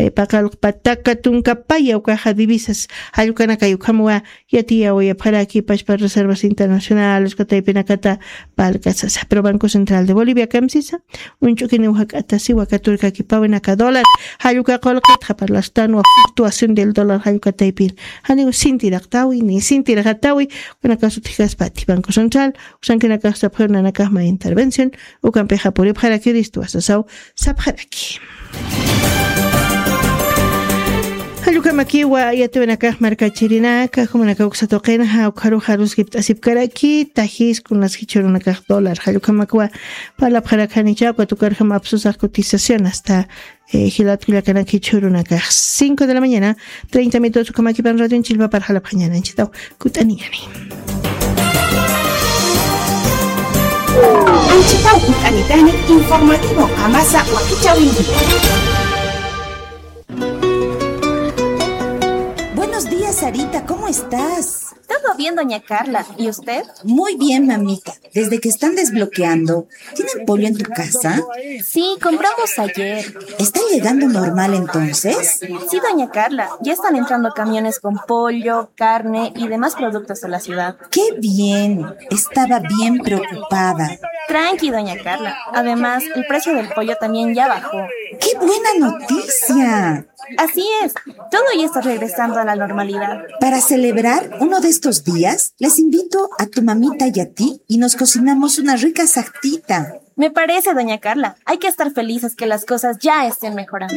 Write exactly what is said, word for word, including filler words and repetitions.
eh, paqallq pataka tunka paya ukaxa divisas, jallkanakay ukhamwa yatiyawayapxaraki pachpa reservas internacionales, uka taypinakata palkasasa. Pero Banco Central de Bolivia kamsisa, uñch'ukiniw jak'atasiwa katurkakipawinaka dólar, jallka qullqitxa parlastanwa fluctuación del dólar jallka taypin. Janiw sintiraqtawi, ni sintiraqatawi, ukanakax utjkaspati Banco Central, usankinakax sapxir nanakaxma intervención, ukampixa puripxarakiristu wasasaw sapxaraki. Jallukamakiwa yatiwanakax markachirinaka, jumanakaw uksa tuqinxa, ukxaruxa ruskipt'asipkaraki, tajis kunas jichhurunakax dólar, jallukamakiwa parlapxarakanicha, uka tukarjam apsusax cotización hasta, eh, jilat kullakanaki jichhurunakax. Cinco de la mañana, treinta minutos, ukamakipan radio chilpapar jalapxañananchitaw, kut'aniñani. Anchitaw kut'anitani informativo Qamasa Wakichäwinki. Buenos días, Sarita, ¿cómo estás? Todo bien, doña Carla. ¿Y usted? Muy bien, mamita. Desde que están desbloqueando, ¿tienen pollo en tu casa? Sí, compramos ayer. ¿Está llegando normal entonces? Sí, doña Carla. Ya están entrando camiones con pollo, carne y demás productos a la ciudad. ¡Qué bien! Estaba bien preocupada. Tranqui, doña Carla. Además, el precio del pollo también ya bajó. ¡Qué buena noticia! Así es, todo ya está regresando a la normalidad. Para celebrar uno de estos días, les invito a tu mamita y a ti y nos cocinamos una rica sartita. Me parece, doña Carla, hay que estar felices que las cosas ya estén mejorando.